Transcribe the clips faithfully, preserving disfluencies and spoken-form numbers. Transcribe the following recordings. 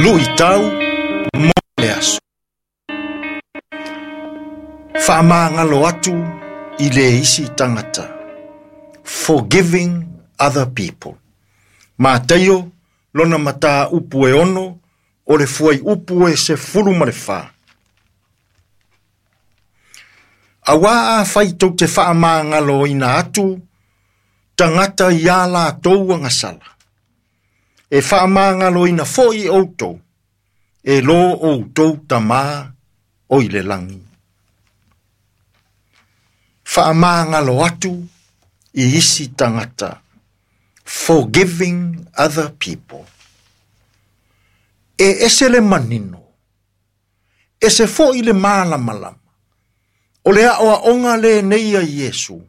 Luitau mo le aso. Faamagalo atu i le isi tagata. Forgiving other people. Mataio lona mataupu e ono o le fuaiupu e sefulu ma le fa. Auā afai tou te faamagaloina atu tagata i a latou agasala, e faamagaloina foi outou e lo outou Tamā o i le lagi. Faamagalo atu i isi tagata. Forgiving other people. E ese le manino, ese foi le malamalama, o le aoaoga lenei a Iesu,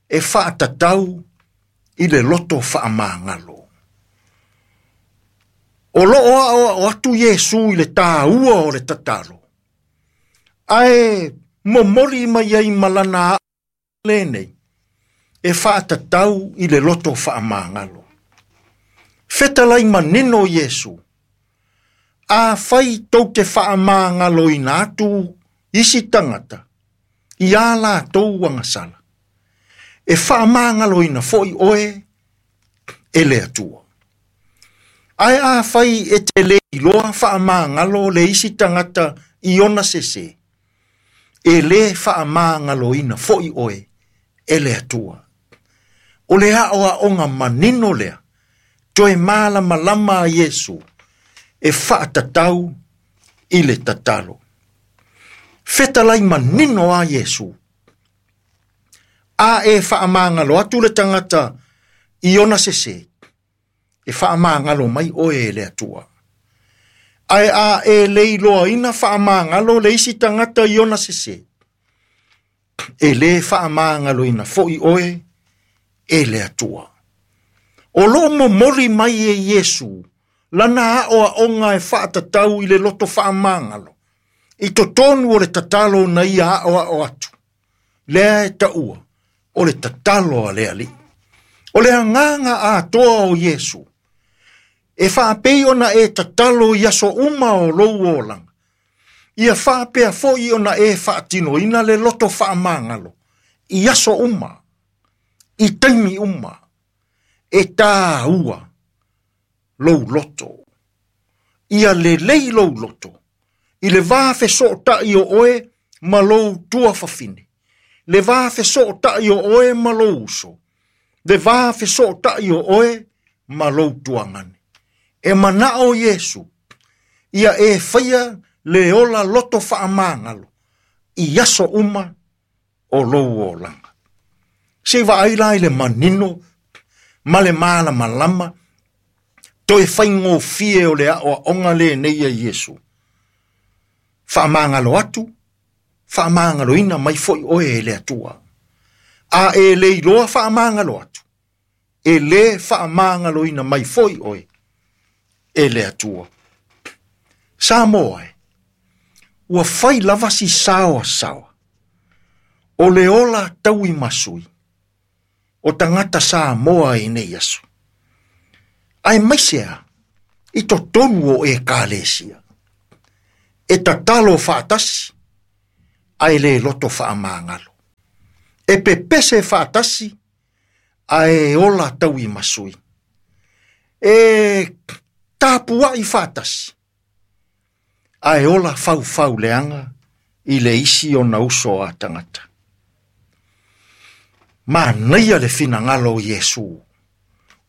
e faatatau i le loto faamagalo. O loo aoao atu Iesu i le tāua o le tatalo, ae momoli mai ai ma lana lenei, e faatatau i le loto faamagalo. Fetalai manino Iesu, afai tou te faamagaloina atu isi tagata i a latou agasala, e faamagaloina foi oe e le Atua. Ae afai e te le iloa faamagalo le isi tagata i ona sese, e le faamagaloina foi oe e le Atua. O le aoaoga manino lea, toe malamalama a Iesu, e faatatau i le tatalo. Fetalai manino a Iesu, a e faamagalo atu le tagata i ona sese, e faamagalo mai oe e le Atua. Ae a e le iloaina faamagalo le isi tagata i ona sese, e le faamagaloina foi oe e le Atua. O loo momoli mai e Iesu lana aoaoga e faatatau i le loto faamagalo, i totonu o le tatalo na ia aoao atu, lea e taua o le tatalo a le Alii. O le agaga atoa o Iesu, e faapei ona e tatalo i aso uma o lou olaga, ia faapea foi ona e faatinoina le loto faamagalo i aso uma, i taimi uma, e tāua lou loto. Ia lelei lou loto, i le va fesootai o oe ma lou tuafafine, le va fesootai o oe ma lou uso, le va fesootai o oe ma lou tuagane. E manao Iesu, ia e faia le ola loto faamagalo i aso uma o lou olaga. Se vaai la i le manino ma le malamalama, toe faigofie o le aoaoga lenei a Iesu. Faamagalo atu, faamagaloina mai foi oe e le Atua. A e le iloa faamagalo atu, e le faamagaloina mai foi oe e le Atua. Samoa e, ua fai lava si saoasaoa, o le ola tauimasui, o tagata Samoa i nei aso. Aemaise a, i totonu o ekalesia, e tatalo faatasi, ae le loto faamagalo. E pepese faatasi, ae ola tauimasui. E tapuai faatasi, ae ola faufau leaga i le isi ona uso a tagata. Manaia le finagalo o Iesu,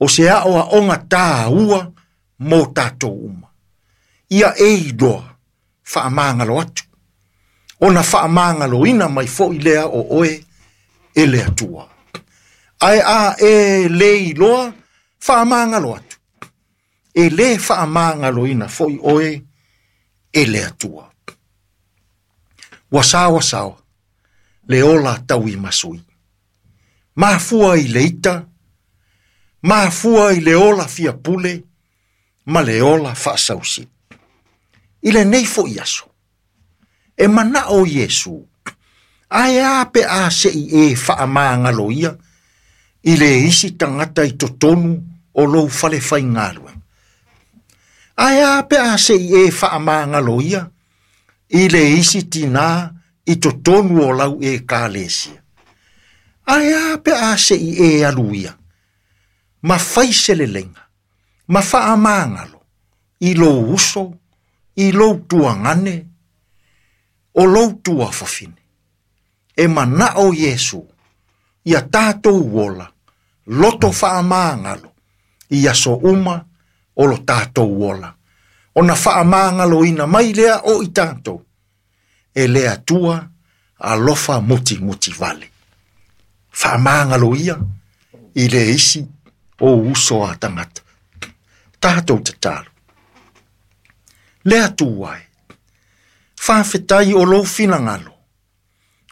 o se aoaoga tāua mo tatou uma. Ia e iloa faamagalo atu, ona faamagaloina mai foi lea o oe e le Atua. Ae a e le iloa faamagalo atu, e le faamagaloina foi oe e le Atua. Ua saoasaoa le ola tauimasui, mafua i le ita, mafua i le ola fiapule, ma le ola faasausi. I lenei foi aso, e manao Iesu, ae a pe a sei e faamagalo ia i le isi tagata i totonu o lou fale faigaluega. Ae a pe a se i e faamagalo ia i le isi tinā i totonu o lau ekalesia. Ae a pe a se i e alu ia ma fai se leleiga ma faamagalo i lou uso, i lou tuagane, o lou tuafafine. E manao Iesu ia tatou ola loto faamagalo i aso uma o lo tatou ola. Ona faamagaloina mai lea o i tatou e le Atua alofa mutimuti vale. Faamagalo ia i le isi o uso a tagata. Tatou tatalo. Le Atua e, faafetai o lou finagalo,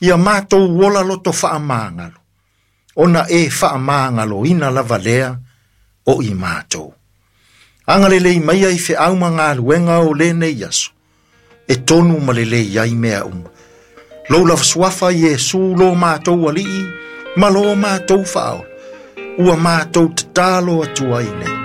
ia matou ola loto faamagalo, ona e faamagaloina lava lea o i matou. Agalelei maia i feau ma galuega o lenei aso, e tonu ma lelei ai mea uma. Lou lava suafa Iesu lo matou alii, ma lo matou faaola, ua matou tatalo atu ai nei.